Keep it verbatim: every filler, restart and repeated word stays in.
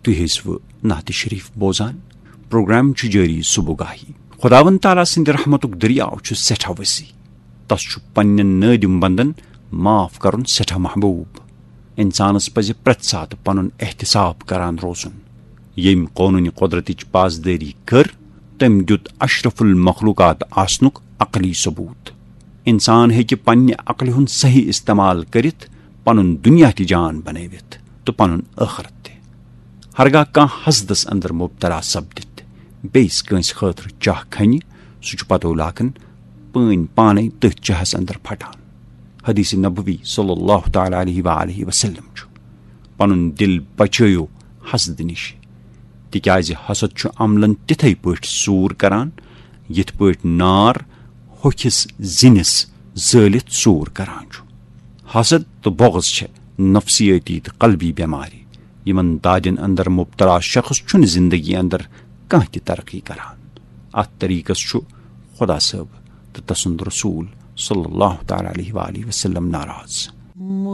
تُہۍ ٲسوٕ نعت شریف بوزان۔ پروگرام چھُ جٲری صبح گاہی۔ خداوند تعالیٰ سٕنٛدِ رحمتُک دٔریاو چھُ سٮ۪ٹھاہ وسیع۔ تس چھُ پننٮ۪ن نٲدِم بندن معاف کرُن سٮ۪ٹھاہ محبوب۔ انسانس پزِ پرٛٮ۪تھ ساتہٕ پنُن احتساب کران روزُن۔ ییٚمۍ قونوٗنِ قۄدرتٕچ پاسدٲری کٔر، تٔمۍ دیُت اشرف المخلوقات آسنُک عقلی ثبوت۔ انسان ہیٚکہِ پننہِ عقلہِ ہُنٛد صحیح استعمال کٔرِتھ پنُن دُنیا تہِ جان بنٲوِتھ تہٕ پنُن ٲخرت تہِ۔ ہرگاہ کانٛہہ حسدس اندر مبتلا سپدِتھ بیٚیِس کٲنٛسہِ خٲطرٕ چاہ کھنہِ، سُہ چھُ پتو لاگان پٲنۍ پانے تٔتھۍ چاہس اندر پھٹان۔ حدیث نبوی صلی اللہ تعالیٰ علیہ وآلہ وسلم چھُ، پنُن دل بچٲیِو حسد نِش، تِکیازِ حسد چھُ عملن تِتھے پٲٹھۍ سوٗر کران، یِتھ پٲٹھۍ نار ہوٚکھِس زِنِس زٲلِتھ سوٗر کران چھُ۔ حسد تہٕ بغض چھِ نفسیٲتی تہٕ قلبی بٮ۪مارِ، یِمن دادٮ۪ن اندر مبتلا شخص چھُنہٕ زندگی اندر کانٛہہ تہِ ترقی کران۔ اتھ طریقس چھُ خدا صٲب تہٕ تسُنٛد رسول صلی اللہ تعالیٰ علیہ وآلہ وسلم ناراض۔